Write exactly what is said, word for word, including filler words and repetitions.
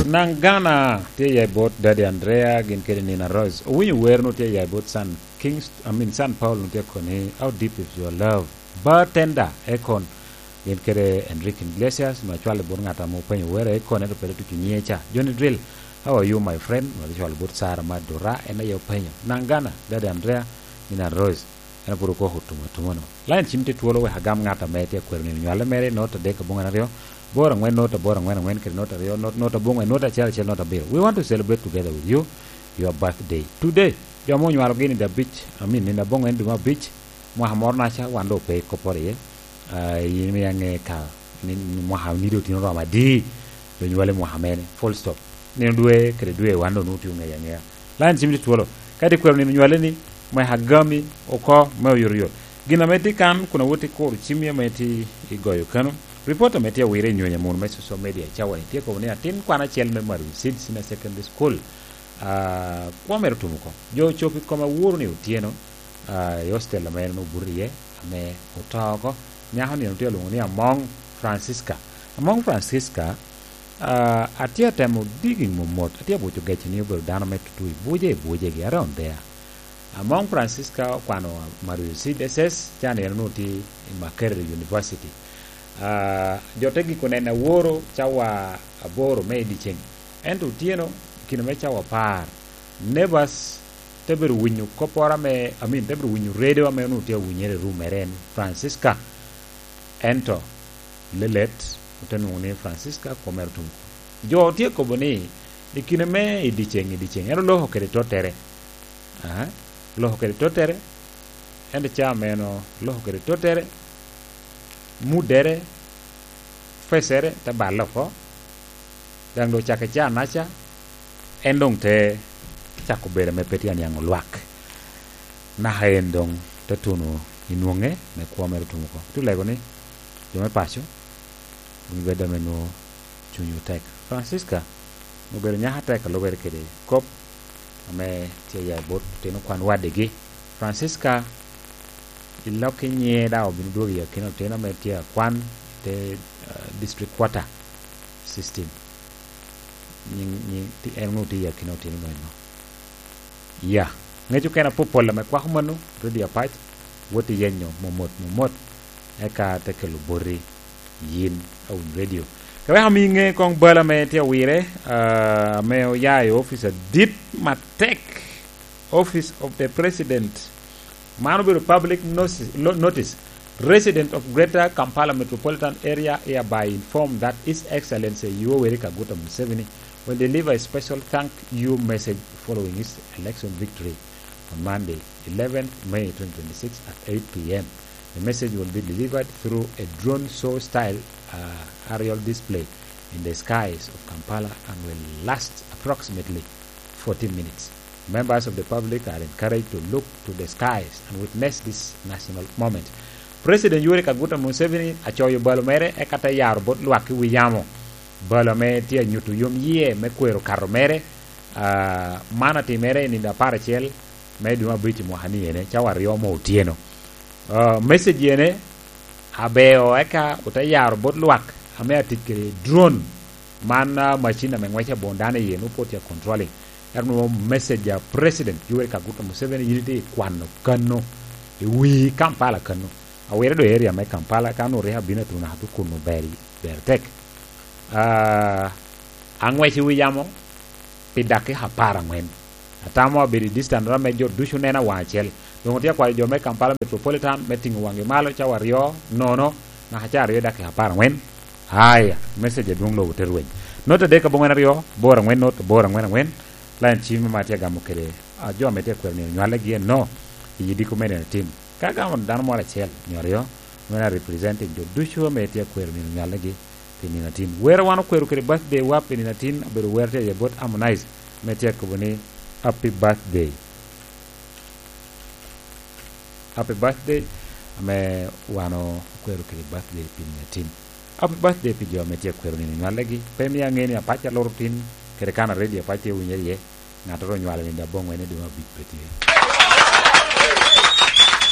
Nangana tye ya i bot Daddy Andrea gin kede Nina Rose. Owinyo wer nu tye ya i bot San Kings, I mean San Paul nu tye koni, "How deep is your love?" Bartender Akon gin kede Enrique Iglesias nu acwalo i bot ngat ame openyo wer Akon ento pe tuco nyiŋe ca. Johnny Drill, "How are you my friend?" Nu acwalo bot Sarah Madura en aye openyo. Nangana, Daddy Andrea, Nina Rose. En pwod okoko otum atuma no. Lain cim tye twolo wek agam ngat ame tye akwero nino nywale mere, not adek aboŋwen aryo, bor angwen not abor angwen angwen kede not aryo not not aboŋwen not acel acel not abiro. We want to celebrate together with you your birthday today. Jo ame onywalo gini da abic, I mean, nino aboŋwen dwe me abic, mwaka moro naca wan doŋ pe i kopporo iye. Ah, yin imio aŋe ka ni, ni mwaka ni doŋ tye oromo adi, doŋ nywale mwaka mene, full stop. Nino dwe kede dwe wan doŋ nwoŋo tye oŋeyo aŋeya. Lain cim tye twolo. Ka itye kwero nino nywale ni, mwaka agami oko me oyotoyot. Gin ame tye kan kun awot i kuro cimmi ame tye i goyo kano. Ripot ame tye awire i nyonyo amun me social media cawa-ni tye kobo ni atin kwan acel me Maru Seed Senior Secondary School, ah, kwo mere otum oko. Jo ocobo i kome awuro ni otyeno, ah, i hostel ame en obuto iye, ame oto oko. Nyako-ni en tye olwoŋo ni Among Francisca. Among Francisca, ah, atye atemo digging momot, atye abuco gecci ni obedo dano me tutu i buce i bucegi, around there. Among Francisca okwano Mario Seed S S, ca-ni en onwoŋo tye i Makerere University. Ah, jo te giko neno aworo cawa aboro me i dyeceŋ. Ento otyeno, i kine me cawa apar, neighbors te bedo winyo kopporo ame, I mean, te bedo winyo redo ame onwoŋo tye awinyere i room mere en, Francisca. Ento lelet ote nwoŋo ni Francisca kwo mere otum oko. Jo tye kobo ni, i kine me i dyeceŋ, i dyeceŋ, en oloko kede tottere. Aha, oloko kede tottere, ento ca meno oloko kede tottere, muddere, facere te balle oko, daŋ doŋ ocakke ca naca, en doŋ te cako bedo ame pe tye aniaŋ olwak. Naka en doŋ te tuno i nwoŋe me kwo mere otum oko. Te lego ni, jo me paco, wun ibed ame nwoŋo cunywu tek. Francisca obedo nyako atek a lubere kede kop ame tye ya i bot otino kwan wadigi. Francisca, i lok i nyiŋe daŋ obino dwogo i akina otino ame tye akwan i te, ah, district quarter system. Nyiŋ, nyiŋ, ti-, en onwoŋo tye i akina otino meno. Ya, ŋec okene apopol ame kwako mano, Radio Apac, wot iyenyo momot, momot, eka te kelo boti yin awiny radio. Ka wek ami ŋe koŋ bal ame tye awire, ah, ame oya i office adit matek, Office of the President. Man obedo public notice, lo-, notice. Resident of Greater Kampala Metropolitan Area hereby informed that His Excellency Yoweri Kaguta Museveni will deliver a special thank you message following his election victory on Monday, eleventh May twenty twenty-six at eight p m. The message will be delivered through a drone show style, uh, aerial display in the skies of Kampala and will last approximately forty minutes. Members of the public are encouraged to look to the skies and witness this national moment. President Yoweri Kaguta Museveni acoyo balo mere eka te yaro bot lwak i wi yamo. Balo ame tye anyuto yom yie me kwero kato mere, ah, man atimere i nino apar acel me dwe me abic i mwaka ni ene, cawa aryo mo otyeno. Ah, message ene, abeo eka ote yaro bot lwak ame atic kede drone. Man, ah, macin ame ŋwece aboŋo dano iye, nwoŋo pwod tye controlling. Ento nwoŋo message a President Yoweri Kaguta Museveni, yin itye i kwano kano, i wi Kampala kano. Awire do area me Kampala, ka nwoŋo rik abino atuno atu kun ber, ber tek. Ah, aŋwec i wi yamo pi dakika apar angwen. Atamo abedo i distance ame jo ducu nena waŋ acel. Doŋ otye akwayo jo me Kampala Metropolitan me tiŋo waŋgi malo cawa aryo, nono, naka ca aryo i dakika apar angwen. Aya, message adwoŋ lobo te rweny. Not adek aboŋwen aryo, bor angwen not, bor angwen angwen. Lain cim ma atye agamo kede, ah, jo ame tye akwero nino nywalegi eno, i yidiko me nino atin. Ka agamo dano moro acel, nyo aryo, meno a representing jo ducu ame tye akwero nino nywalegi pi nino atin. Wer a wan okwero kede birthday wa pi nino atin, obedo wer tye aye bot Harmonize, ame tye akobo ni, "Happy birthday." Happy birthday, ame wan okwero kede birthday pi nino atin. Happy birthday pi jo ame tye akwero nino nywalegi. Pe mio aŋe ni apac aloro tin, kede kan a radio apac tye winyere iye, ŋattoro onywalo nino aboŋwen i dwe me abic pe tye.